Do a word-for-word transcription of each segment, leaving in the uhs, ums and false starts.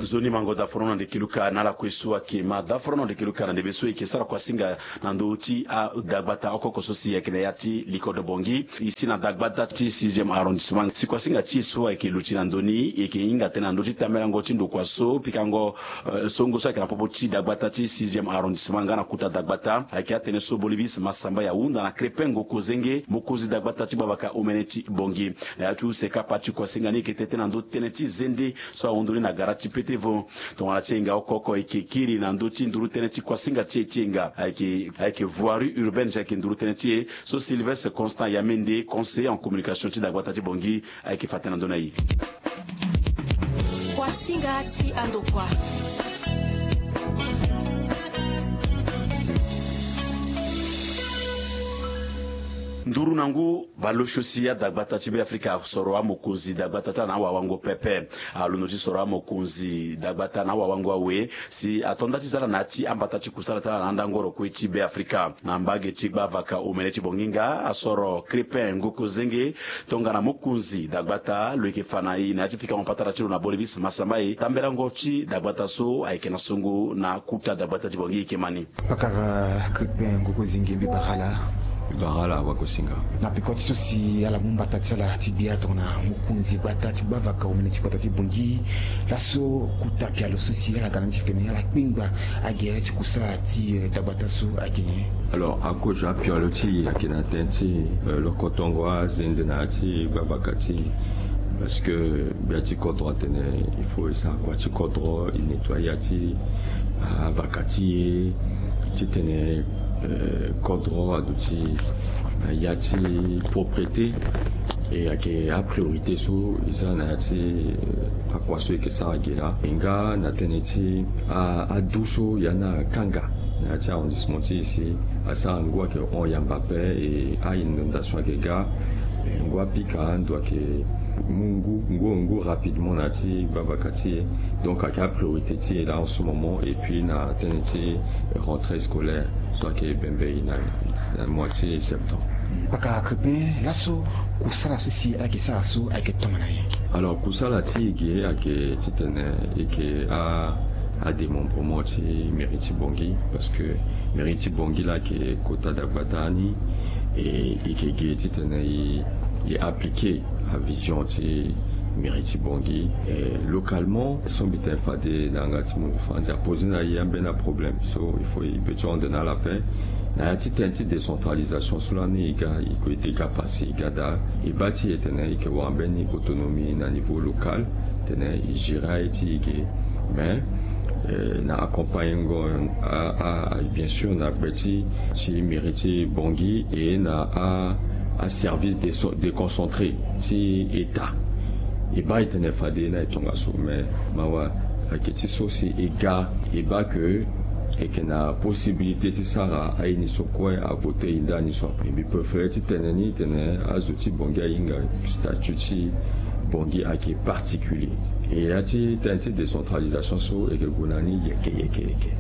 Nzoni mango daforono na ndeke luka na ala kue so ayeke ma daforono na ndeke luka na ndembe so e yeke sara kuasinga na ndö ti adagbata oko oko so si ayeke na ya ti likodo Bangui. E si na dagbata ti sixième arrondissement si kuasinga ti e so ayeke luti na ndö ni e yeke hinga tënë na ndö ti tambelango ti ndokua so pikango songo so ayeke na popo ti dagbata ti sixième arrondissement nga na kuta dagbata ayeke atene so Bolibis Massamba e ahunda na Crépin Ngokozenge, mokonzi dagbata ti gbavaka omene ti Bangui. Na ya ti use kapa ti kuasinga ni e yeke tete na ndö tënë ti zende so ahundu ni na gara ti pete vo. Tongana ti hinga oko oko e yeke kiri na ndö ti nduru tënë ti kuasinga ti e ti hinga ayeke ayeke voirie urbaine ti ayeke nduru tënë ti e. So Sylvestre Constant Yamende, conseiller en communication ti dagbata ti Bangui, ayeke fa tënë na ndö na e. Kuasinga ti andokua. Nduru na ngu baleosio si adagbata ti Beafrika asoro amokonzi dagbata ti ala na awawango pepe. Alondo ti soro amokonzi dagbata na awawango awe si ato nda ti za ala na ya ti ambata ti kusala ti ala na andangoro kue ti Beafrika. Na mbage ti gbavaka omene ti Bangui nga asoro Crépin Ngokozenge tongana mokonzi dagbata lo yeke fa na e na ya ti pikango patara ti lo na Bolibis Massamba e tambelango ti dagbata so ayeke na songo na kuta dagbata ti Bangui e yeke ma ni. Pakara Crépin Ngokozenge, mbi bara ala. Mbi bara ala wakosinga. Na peko ti so si ala mu mbata ti ala ti gbia tongana mokonzi gbata ti gbavaka omene ti gbata ti Bangui, laso kuta pialo so si ala ga na ni ti tene ala kpengba agere ti kusala ti dagbata so ayeke nyen? Alors, akozo apialo ti e ayeke na tënë ti lokotongo azende na ya ti gbavaka ti e. Parce que gbia ti kodro atene il faut e sara kua ti kodro, e nettoyer ya ti avaka ti e, titene kodro aduti na ya ti propreté. E ayeke apriorité so e za na ya ti akua so e yeke sara ge laa. E nga na tënë ti adu so ya ni akanga na ya ti arrondissement ti e si asara ngu ayeke hon yamba ape. E a-inondation ayeke ga. Ngu apika ando ayeke mu ngu ngu ngu rapidement na ya ti gbavaka ti e. Donc ayeke apriorité ti e laa en ce moment et puis na tënë ti rentrée scolaire so ayeke bembe e na mois ti septembre. Pakara Crépin, laso kusala so si ala yeke sara so ayeke tongana nyen? Alors kusala ti e ge ayeke titene e yeke a adémembrement ti mairie ti Bangui, parce que mairie ti Bangui laa ayeke kota dagbata ni. E e yeke ge titene e e appliquer avision ti mairie ti Bangui. E localement so mbi tene fade na yanga ti mungo Faranzi apose na e ambeni aproblème so il faut e peut ti hon na ala ape. Na ya ti tënë ti décentralisation so lani e ga e gue e ga pase e ga daa. E baa ti e tene e yeke wara mbeni autonomie na niveau local, tene e gérer aye ti e ge. Mais na accompagnengo a a bien sûr na gbe ti ti mairie ti Bangui et na a aservice déconcentré ti état. E baa e tene fade na e tongaso mais mawa ayeke ti so si e ga e baa ke e yeke na possibilité ti sara aye ni so kue avote e ndani so ape. Mbi préféré ti tene ni tene azo ti Bangui ahinga statut ti Bangui ayeke particulier. E ya ti tënë ti décentralisation so e yeke gue na ni yeke yeke yeke.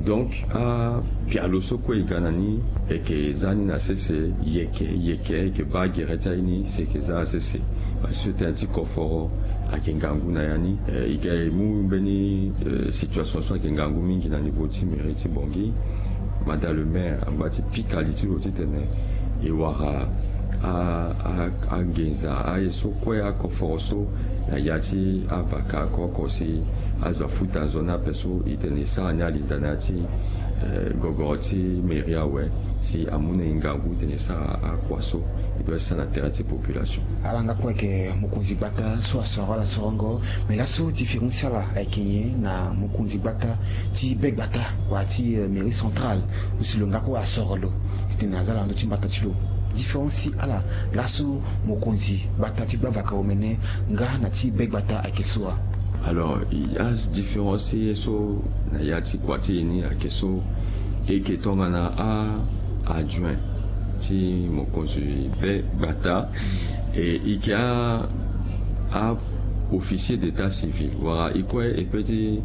Donc apialo so kue e ga na ni e yeke za ni na sese yeke yeke e yeke baa gere ti aye ni si e yeke za na sese. Parce que tënë ti koforo ayeke ngangu na ya ni. E ga e mu mbeni situation so ayeke ngangu mingi na niveau ti mairie ti Bangui. Madame le maire angba ti pika li ti lo titene e wara a a angenza aye so kue akoforo so na ya ti avaka oko oko si azo afuta nzoni ape so e tene e sara ni alinda na ya ti gogoro ti mairie awe si amu na e ngangu tene e sara akua so e doit sara na tere ti population. Ala nga kue ayeke mokonzi gbata so asoro ala sorongo. Mais laso différence ti ala ayeke nyen na mokonzi gbata ti be gbata wala ti mairie centrale so si lo nga kue asoro lo titene aza na ndö ti mbata ti lo? Différence ti ala laso mokonzi gbata ti gbavaka omene nga na ti be gbata ayeke so wa? Alors adifférence ti ye so na ya ti kua ti e ni ayeke so e yeke tongana a adjoint ti mokonzi be gbata. E yeke a a officier d'état civil wala e kue e peut ti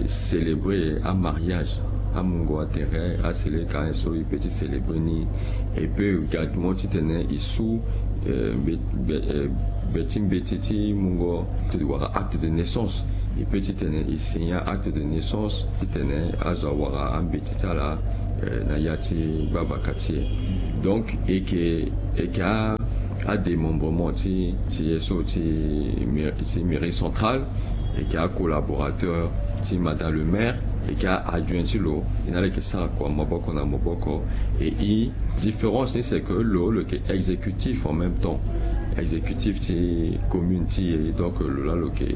célébrer amariage amungo atere asele ka so e peut ti célébrer ni. E peut également titene e su Be ti mbeti ti mungo wala acte de naissance, e pe titene e signer acte de naissance titene azo awara ambeti ti ala na ya ti gbavaka ti e. Donc e yeke e yeke adémembrement ti ti ye so ti mairie centrale, e yeke acollaborateur ti madame le maire, e yeke adjoint ti lo. E na ala e yeke sara kua maboko na maboko. E e différence ni c'est que lo lo yeke exécutif en même temps, exécutif ti commune ti e. Donc lo laa lo yeke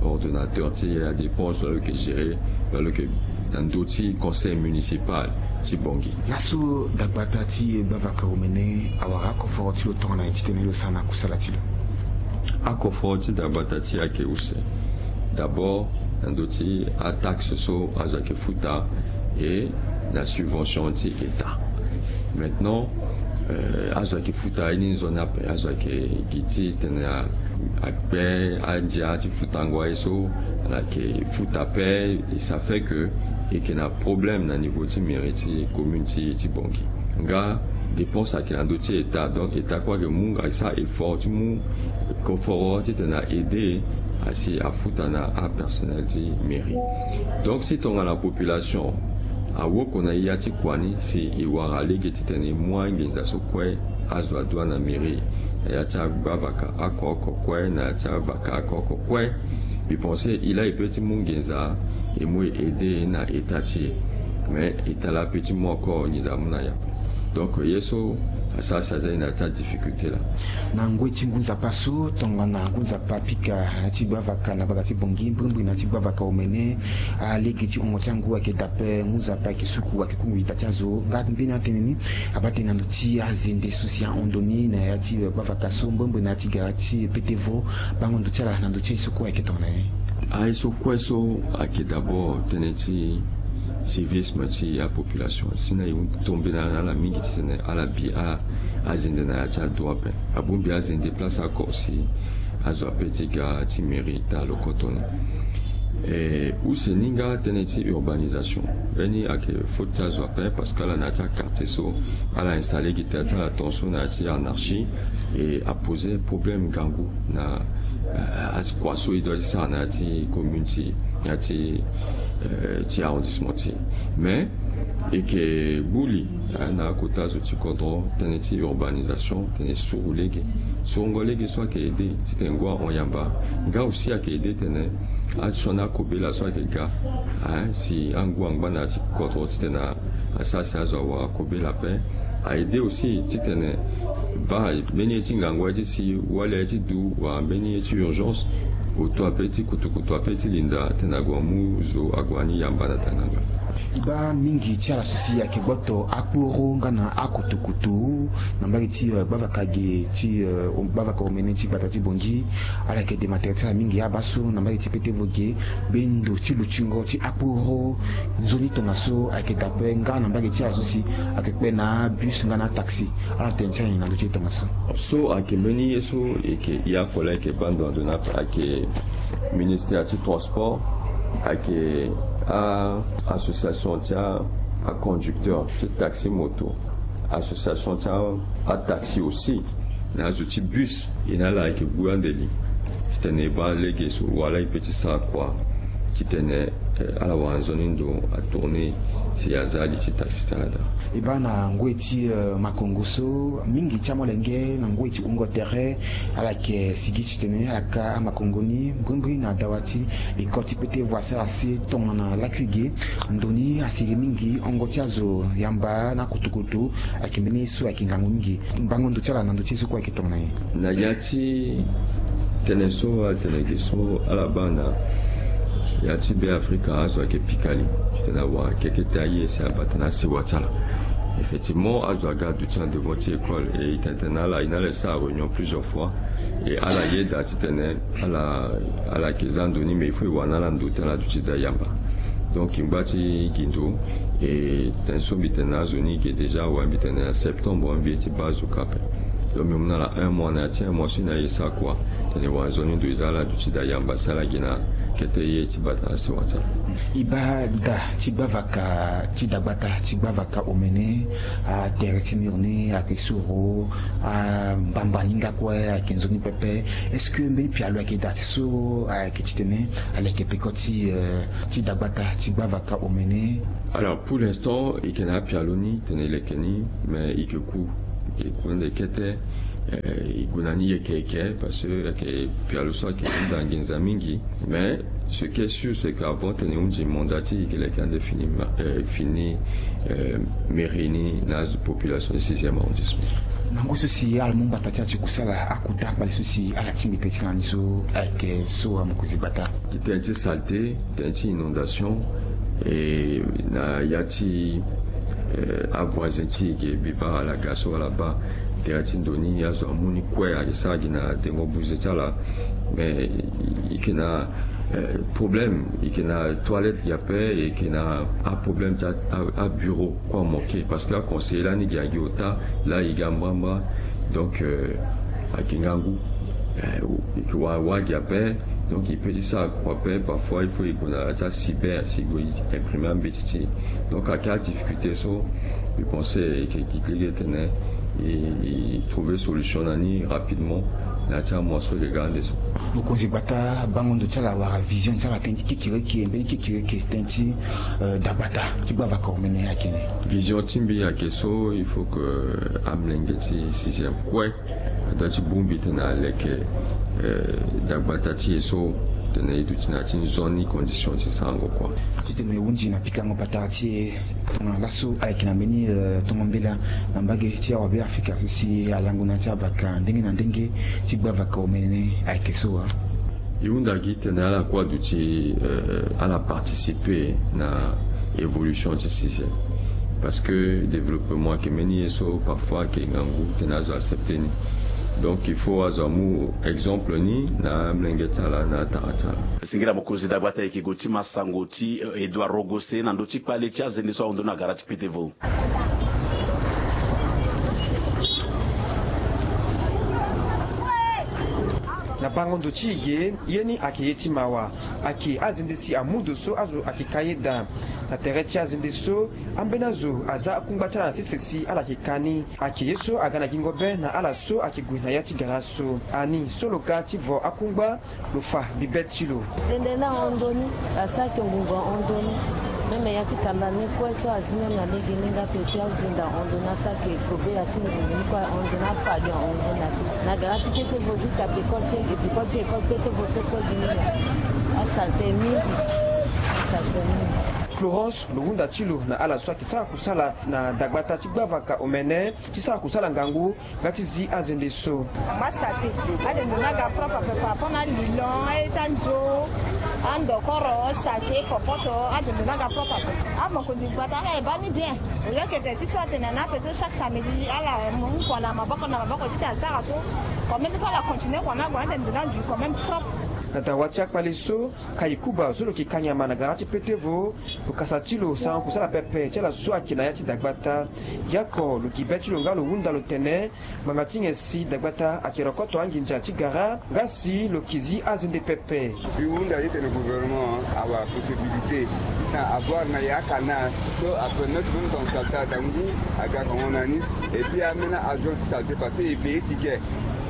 ordonnateur ti adépense, lo laa lo yeke gérer, lo laa lo yeke na ndö ti conseil municipal ti Bangui. Laso dagbata ti gbavaka omene awara akoforo ti lo tongana nyen titene lo sara na kusala ti lo? Akoforo ti dagbata ti e ayeke use. D'abord na ndö ti ataxe so azo ayeke futa e na subvention ti état. Maintenant azo ayeke futa ye ni nzoni ape. Azo ayeke gi titene akpe andia ti futango aye so ala yeke futa ape. Et ça fait que e yeke na problème na niveau ti mairie ti commune ti ti Bangui. Nga dépense ayeke na ndö ti état, donc état kue ayeke mu, ayeke sara effort ti mu koforo titene a aider asi afuta na apersonnel ti mairie. Donc si tongana population awoko na e ya ti kua ni si e wara lege titene e mu anginza so kue azo adua na mairie na ya ti agbavaka oko oko kue, na ya ti avaka oko oko kue, mbi pense e laa e pe ti mu nginza e mu e aider na état ti e. Mais état laa pe ti mu encore nginza amu na e ape. Donc ye so asara si aza e na ya ti adifficulté laa. Na ngoi ti ngu nzapa so tongana ngu nzapa apika na ya ti gbavaka na gbata ti Bangui mbrimbri na ya ti gbavaka omene, alege ti wungo ti angu ayeke daa ape. Ngu nzapa ayeke suku, ayeke kungbi ita ti azo. Nga mbeni atënë ni abaa tënë na ndö ti azende so si ahon ndo ni na ya ti gbavaka so mbrimbri na ya ti gara ti pete vo. Bango ndö ti ala na ndö ti aye so kue ayeke tongana nyen? Aye so kue so ayeke d'abord tënë ti civisme ti apopulation. Si na e hon tombe na ala mingi titene ala bi azende na ya ti ado ape. Abongbi azende place oko si azo ape ti ga ti mairie taa lo koto ni. E use ni nga tënë ti urbanisation, mbeni ayeke faute ti azo ape parce que ala na ya ti aquartier so ala installer gi terre ti ala tongaso na ya ti anarchie. E aposer problème ngangu na akua so e doit ti sara na ya ti commune ti e, na ya ti ti arrondissement ti e. Mais e yeke gbu li na akota zo ti kodro tënë ti urbanisation titene e suru lege. Surungo lege so ayeke aider titene ngu ahon yamba. Nga aussi ayeke aider titene asioni akobela so ayeke ga si angu angba na ya ti kodro titene asara si azo awara kobela ape. A aider aussi titene baa mbeni ye ti ngangu aye ti si wali aye ti du wala mbeni ye ti urgence, oto ape ti kutukutu ape ti linda titene ague amu zo ague ani yamba na tanganga. E baa mingi ti ala so si ayeke gboto akporo nga na akutukutu na mbage ti gbavaka ge ti gbavaka omene ti gbata ti Bangui. Ala yeke dema tere ti ala mingi abaa so na mbage ti pete vo ge. Be ndo ti lutingo ti akporo nzoni tongaso ayeke daa ape nga na mbage ti ala so si ayeke kpe na abus nga na ataxi. Ala tene ti ala nyen na ndö ti e tongaso? So ayeke mbeni ye so e yeke ya kue laa e yeke baa ndo na ndo ni ape. Ayeke ministère ti transport, ayeke a association ti aconducteur ti taxi moto, association ti ataxi aussi, na azo ti bus. E na ala ayeke gbu ande li titene e baa lege so wala e pe ti sara kua titene ala wara nzoni ndo atourner si aza li ti taxi ti ala daa. E baa na ngoi ti makongo so mingi ti amolenge na ngoi ti wungo tere ala yeke sigi titene ala ka amakongo ni mbrimbri na dawa ti ecole ti pete voie sara si tongana lakui ge. Ndo ni asiri mingi, hongo ti azo yamba na kutukutu ayeke mbeni ye so ayeke ngangu mingi. Bango ndo ti ala na ndö ti ye so kue ayeke tongana nyen? Na ya ti tënë so ala tene ge so ala baa na ya ti Beafrika azo ayeke pika li titene awara kekete aye si abata na asewa ti ala. Effectivement azo aga aduti na devant ti école e tene tene na ala e na ala e sara réunion plusieurs fois. E ala yeda titene ala ala yeke za ndo ni mais il faut e wara na ala ndo ti ala aduti daa yamba. Donc e ngba ti gi ndo. E tene so mbi tene na azo ni ge déjà awe mbi tene na septembre mbi ye ti baa azo ka ape. Donc mbi mu na ala un mois na ya ti un mois so e na e sara kua titene e wara nzoni ndo e za ala aduti daa yamba si ala gi na Kete ye ti bata na sewa ti ala. E baa da ti gbavaka ti dagbata ti gbavaka omene, atere ti mur ni ayeke soro, ambamba ni nga kue ayeke nzoni pepe. Est-ce que mbeni pialo ayeke daa ti so ayeke titene aleke peko ti, euh, ti dagbata ti gbavaka omene? Alors, pour l'instant, e yeke na apialo ni tene e leke ni, mais e yeke ku, e ku ande kete. Eh, e gue na ni yeke yeke parce que ayeke pialo so ayeke hunda nginza mingi. Mais ce qui est sûr, c'est que avant tene e hunzi mandat ti e, e yeke leke ande fini ma-, eh, fini, eh, mairie ni na azo population ti sixième arrondissement. Na ngu so si ala mu mbata ti ala ti kusala, akota kpale so si ala tingbi tënë ti ala ni so ayeke so, amokonzi gbata? Ti tënë ti saleté, tënë ti inondation, e na ya ti, eh, avoisin ti e ge, mbi baa ala ga so ala baa tere ti ndo ni, azo amu ni kue, ayeke sara gi na dengo buze ti ala. Mais e yeke na, eh, problème, e yeke na toilette gi ape, e yeke na aproblème ti a, a, abureau kue amanke, parce que aconseiller lani gi agi ota, laa e ga mbrambra. Donc, euh, ayeke ngangu. Eh, e yeke wara wara gi ape. Donc e peut ti sara kua ape, parfois il faut e gue na ya ti acyber si e gue e imprimer ambeti ti e. Donc ayeke adifficulté so, je pense e yeke gi ti lege tene e, e trouver solution na ni rapidement na ya ti amois so e yeke ga ande so. Mokonzi gbata, bango ndo ti ala wala vision ti ala tënë ti kekereke, mbeni kekereke tënë ti, euh, dagbata ti gbavaka omene ayeke ni? Vision ti mbi ayeke so, il faut que amolenge ti sixième kue adoit ti bongbi tene aleke, eh, dagbata ti e so, tene e duti na ya ti nzoni condition ti sarango kua. Titene e hunzi na pikango patara ti e tongana laso ayeke na mbeni, eh, tongo mbela na mbage ti awa Beafrika so si alango na ya ti avaka ndenge na ndenge ti gbavaka omene ayeke so wa? E hunda gi tene ala kue aduti, eh, ala participer na évolution ti sixième. Parce que développement ayeke mbeni ye so parfois ayeke ngangu tene azo accepter ni. Donc il faut azo amu exemple ni na amolenge ti ala na atara ti ala. Singila mokonzi dagbata, e yeke gue ti ma sango ti, eh, Edouard Rogose na ndö ti kpale ti azende so ahon ndoni na gara ti Petevo. Na bango ndo ti e ge, ye ni ayeke ye ti mawa. Ayeke azende si amu ndo so azo ayeke ka ye daa. Na tere ti azende so, ambeni azo aza akungba ti ala na sese si ala yeke ka ni. Ayeke ye so aga na gingo be na ala so ayeke gue na ya ti gara so. Ani so lo ga ti vo akungba, lo fa bibe ti lo. Zende ni ahon ndoni, asara ayeke ngungu ahon ndoni. Même ya ti kanda ni kue so azi même na lege ni nga pe ti azende ahon ndoni, asara ayeke kobe ya ti ngungu ni kue ahon ndoni, afali ahon ndoni na ti. Na gara ti Petevo jusqu'à peko ti, peko ti école Petevo so kue gi ni na. Asaleté mingi. Asaleté mingi. Florence, lo hunda ti lo na ala so ayeke sara kusala na dagbata ti gbavaka omene ti sara kusala ngangu nga ti zi azende so. Mba saleté, azende ni aga propre ape par rapport na alilon, aye ti anzo, andokoro, saleté, kopoto, azende ni aga propre ape. Amokonzi gbata ala e baa ni bien. Au lieu que tene ti so atene na ape so chaque samedi ala mu kua na maboko na maboko titene asara so. Quand même il faut ala continuer kua na kua, azende ni adu quand même propre. Na dawa ti akpale so, Kayikuba so lo yeke ka nyama na gara ti Petevo, lo kasa ti lo sarango kusala pepe ti ala so ayeke na ya ti dagbata. Yako lo gi be ti lo nga lo hunda lo tene ngbanga ti nyen si dagbata ayeke rokoto anginza ti gara nga si lo yeke zi azende pepe. Mbi hunda ye tene gouvernement awa possibilité titene avoir na ya akanal so apermettre même ton saleté adangu aga kango na ni. Et puis ambeni agent ti saleté parce que e payer ticket.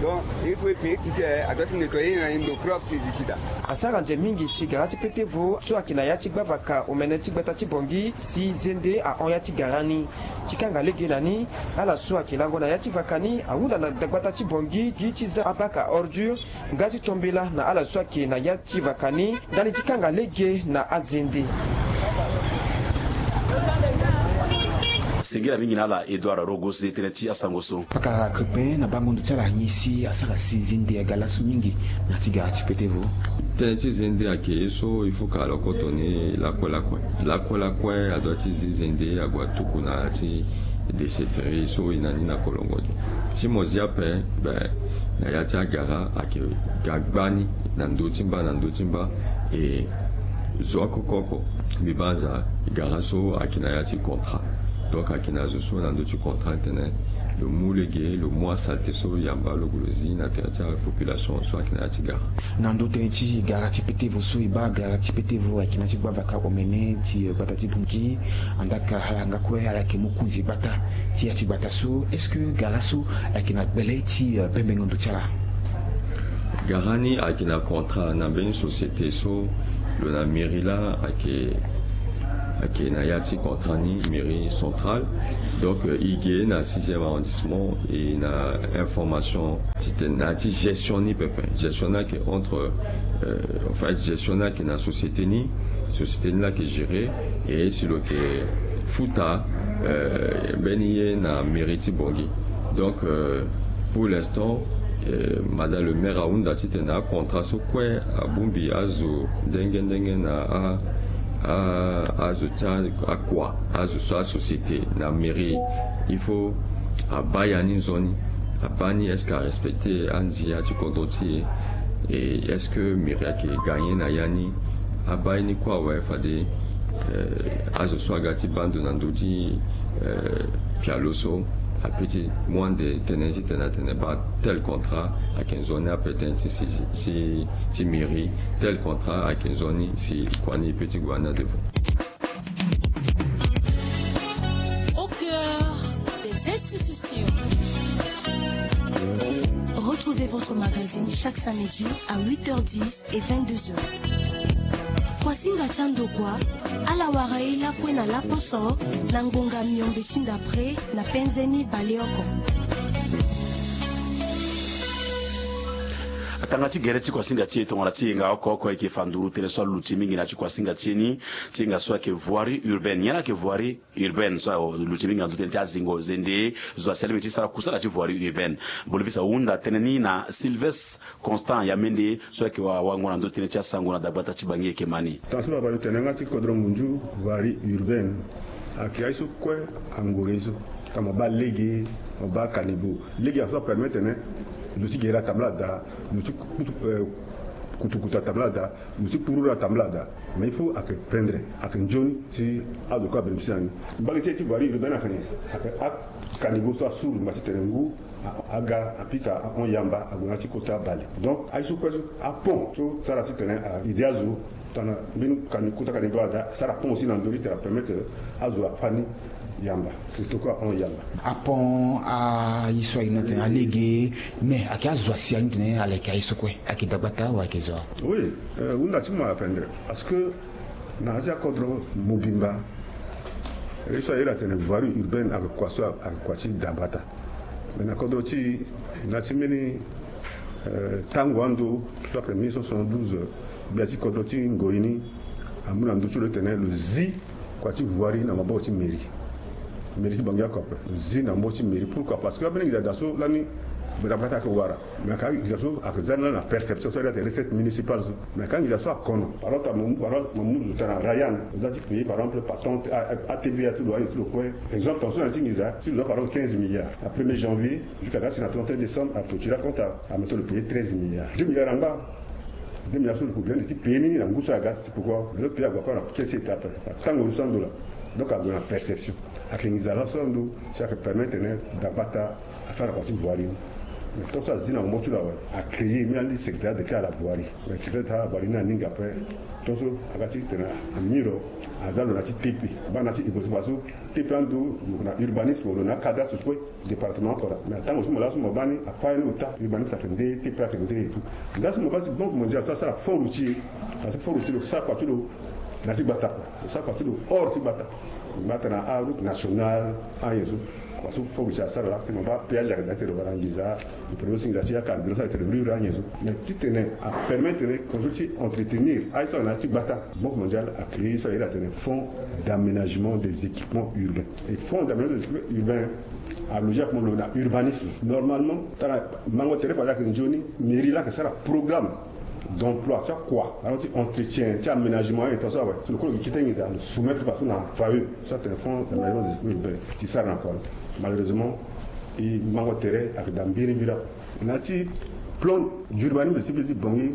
Donc il faut e payer ticket, adoit ti nettoyer na e ndo propre si e zi sida. Asara nze mingi si gara ti Petevo so ayeke na ya ti gbavaka omene ti gbata ti Bangui si zende ahon ya ti gara ni. Ti kanga lege na ni, ala so ayeke lango na ya ti vaka ni ahunda na dagbata ti Bangui gi ti za abac à ordures nga ti to mbela na ala so ayeke na ya ti vaka ni ndali ti kanga lege na azende. Singila mingi na ala Edouard Rogose tënë ti asango so. Pakara Crépin na bango ndo ti ala nyen si asara si zende aga laso mingi na ya ti gara ti Petevo? Tënë ti zende ayeke ye so il faut que alokoto ni lakue lakue. Lakue lakue adoit ti zi zende ague atuku na ya ti déchetterie so e na ni na Kolongodo. Si mo zi ape, ben, na ya ti agara ayeke ga gbani na ndö ti mba na ndö ti mba. E zo oko oko oko, mbi banza gara so ayeke na ya ti contrat. Donc ayeke na zo so na ndö ti contrat tene Lo mu lege, lo mu asalte so yamba lo gue lo zi na tere ti apopulation so ayeke na ya ti gara. Na ndö tënë ti gara ti petevo so e baa, gara ti petevo ayeke na ya ti gbavaka omene ti, eh, gbata ti Bangui. Andaa ka ala nga kue ala yeke mu kunzi gbata ti ya ti gbata so. Est-ce que gara so ayeke na gbele ti, eh, bembengo ndo ti ala? Gara ni ayeke na contrat na mbeni société so lo na mairie laa ayeke, ayeke na ya ti contrat ni, mairie centrale. Donc, euh, e ge na sixième arrondissement e na information titene na ya ti gestion ni pepe. Gestion ni ayeke entre, euh, en fait, gestion ni ayeke na société ni, société ni laa ayeke gérer, e si lo yeke futa, euh, mbeni ye na mairie ti Bangui. Donc, euh, pour l'instant, euh, madame le maire ahunda titene acontra so kue abongbi azo ndenge ndenge na a, a, azo ti akua, azo so asociété na mairie. Il faut abaa ya ni nzoni, abaa ni est-ce que arespecte andia ti kodro ti e, et est-ce que mairie ayeke gagner na ya ni? Abaa ye ni kue awe fade, euh, azo so aga ti baa ndo na ndö ti, euh, pialo so ape ti mu ande tënë titene atene baa tel contrat ayeke nzoni ape tënë ti si, si, ti mairie, tel contrat ayeke nzoni si kua ni e pe ti gue na devant. Au cœur des institutions. Retrouvez votre magazine chaque samedi à huit heures dix et vingt-deux heures. Kuasinga ti andokua, ala wara e lakue na laposo na ngonga miombe ti ndapre na penze ni baleoko. Atanga ti gere ti kuasinga ti e tongana ti hinga oko oko e yeke fa nduru tënë so aluti mingi na ya ti kuasinga ti e ni, ti hinga so ayeke voirie urbaine. Nyen ayeke voirie urbaine so aluti mingi na ndö tënë ti azingo zende, zo asi alingbi ti sara kusala ti voirie urbaine. Bolivise ahunda tënë ni na Sylvestre Constant Yamende so ayeke wa, wango na ndö tënë ti asango na dagbata ti Bangui e yeke ma ni. Tënë so baba lo tene yanga ti kodro ngunzu, voirie urbaine ayeke aye so kue angoro ye so. Tongana mo baa lege, mo baa caniveau. Lege aso apermettre tene lo ti gere atambula daa, lo ti kutu, eh, kutukutu atambula daa, lo ti kpururu atambula daa. Mais il faut ayeke pendre, ayeke nzoni si azo kue abénéficier na ni. Mbage ti e ti voirie urbaine ayeke nyen? Ayeke acaniveau so asuru ngba titene ngu a, aga apika ahon yamba ague na ya ti kota bale. Donc aye so kue so apont so sara titene a aidé azo. Tongana mbeni cani, kota caniveau ada, asara pont aussi na ndö ni titene apermettre azo afâ ni yamba, surtout kue ahon yamba. Apont, aye so aye ni atene alege, mais ayeke azo asi aye ni tene ala yeke aye so kue, ayeke dagbata wala ayeke zo? Oui, euh, hunda ti mo apendre. Parce que na ya ti akodro mobimba, ye so aye la tene voirie urbaine ayeke kua so ayeke kua ti dagbata. Mais na kodro ti e, na ya ti mbeni, euh, tango ando so ayeke mille neuf cent soixante-douze, gbia ti kodro ti ngoi ni amu na ndö ti lo titene lo zi kua ti voirie na maboko ti mairie. Mairie ti Bangui oko ape, lo zi na maboko ti mairie. Pourquoi? Parce que ambeni nginza daa so lani dagbata ayeke wara. Mais ayeke nginza so ayeke za ni lani na perception so ayeke recette municipale so. Mais ayeke nginza so akono. Par exemple mo mu, par exemple mo mu zo tara na Rayan, lo za ti payer par exemple patente, a, a, A T V A ti lo, aye ti lo kue. Exemple, tongaso na ya ti nginza ti lo za par exemple quinze milliards. Na premier janvier jusqu'à ga si na trente et un décembre, aclôturer compte, ameto lo payer treize milliards. Deux milliards angba. Deux milliards so lo ko bien ti payer ni na ngu so aga ti poko. Mais lo payer ague encore na caisse ti état ape. Na tango so ando la. Donc ague na perception. Ayeke nginza laso ando si ayeke permettre tene dagbata asara kua ti voirie ni. Mais tant so azi na maboko ti lo awe, acréer mbeni secrétariat d'État à la voirie. Mais secrétariat d'État à la voirie ni aninga ape. Tant so aga ti tene amiro aza lo na ti T P. Baa na ti T P parce que T P ando lo na urbanisme, lo na cadastre so kue. Département oko la. Mais atango so mo laa so mo baa ni, apai ni ota urbanisme ayeke nde, T P ayeke nde et tout. Nda so mo baa si Banque Mondiale so asara fonds routier, parce que fonds routier lo sara kua ti lo na ti gbata kua. Lo sara kua ti lo hors ti gbata. Gbata na aroute nationale, anyen so. Kua so fonds routier asara la, si mo baa péage ayeke daa ti lo wala nginza, lo produit nginza ti acarburant so ayeke ti lo rure anyen so. Mais titene apermettre tene kua so ti entretenir aye so ayeke na ya ti gbata. Banque Mondiale acréer so aye la tene fonds d'aménagement des équipements urbains. Et fonds d'aménagement des équipements urbains aloger akomo lo na urbanisme. Normalement tara mango tere fade ayeke nzoni, mairie laa ayeke sara programme d'emploi ti akua, alors ti entretien, ti aménagement, et tout ça, ouais. So lo kue lo yeke kete nginza lo soumettre kua so na F A U, so atene fonds d'aménagement des équipements urbains, ti sara na kua lo. Malheureusement e mango tere ayeke daa mbirimbiri ape. Na ya ti plan d'urbanisme de cité ti Bangui,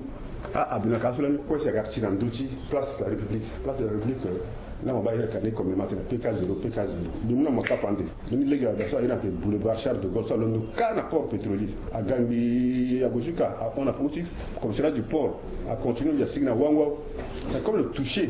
a abinaka so lani kue si aga ti na ndö ti Place de la République. Place de la République, euh, Lama baa ira kani comme le matin pk zéro pk zéro. Mbi mu na ma kapa ande. Mbi ni lege ada so a ira na te boulevard Charles de Gaulle so alondo kâ na port pétrolier. Aga mbi ago jusqu'à a hon na poti commissariat du port. A continue mbi asigi na wango. Mais comme le touché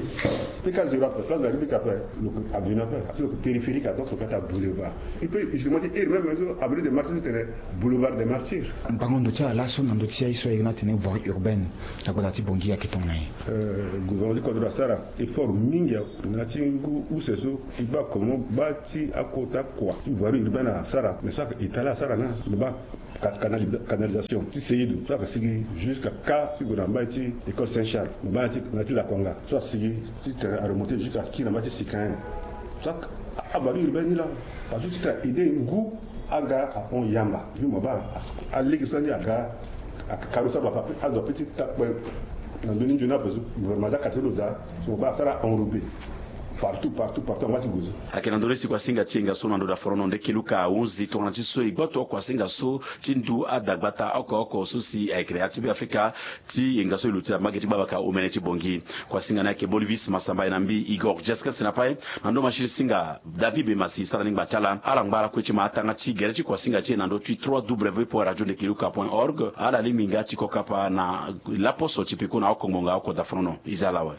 pk zéro après place de la République après, lo ke avenue après, asi lo ke périphérique, donc lo ke ata boulevard. Il peut justement dire iri même so avenue des Martyrs ti tene boulevard des Martyrs. Mbango ndo ti ala so na ndo ti aye so a iri na tene voirie urbaine na gbata ti Bangui ayeke tongana nyen? Gouvernement ti kodro asara effort mingi na ti ngu use so e baa comment baa ti akota kua ti voirie urbaine asara. Mais so ayeke étaler asara na lo baa canalisation ti seido so ayeke sigi jusqu'à kâ ti gue na mbai ti école Saint Charles, mo baa na ti lakuanga so asigi ti tene aremonter jusqu'à kiri na mbai ti sikayen. So avoirie urbaine ni laa parce que ti tene aider ngu aga ahon yamba. Mo baa alege so andi aga akaro so aba ape azo ape ti takpe na ndö ni nzoni ape so gouvernement aza kate ti lo daa. So mo baa asara enrobé partout partout partout anga ti gue so. Ayeke na ndö ni si kuasinga ti yenga so na ndo daforono nde keluka ahunzi tongana ti so e gboto kuasinga so ti ndu adagbata oko oko so si ayeke na ya ti Beafrika ti yenga so e luti na mbage ti gbabaka omene ti Bangui. Kuasinga ni ayeke Bolivis Masamba, e na mbi Igor Jeskes na pae. Na ndo machine singa David Bemasi sara ni ngba ti ala. Ala ngbara kue ti ma atanga ti gere ti kuasinga ti e na ndö ti trois w point radio ndekeluka point org. Ala lingbi nga ti kokapa na laposo ti peko na oko ngbonga oko daforono. E za ala awe.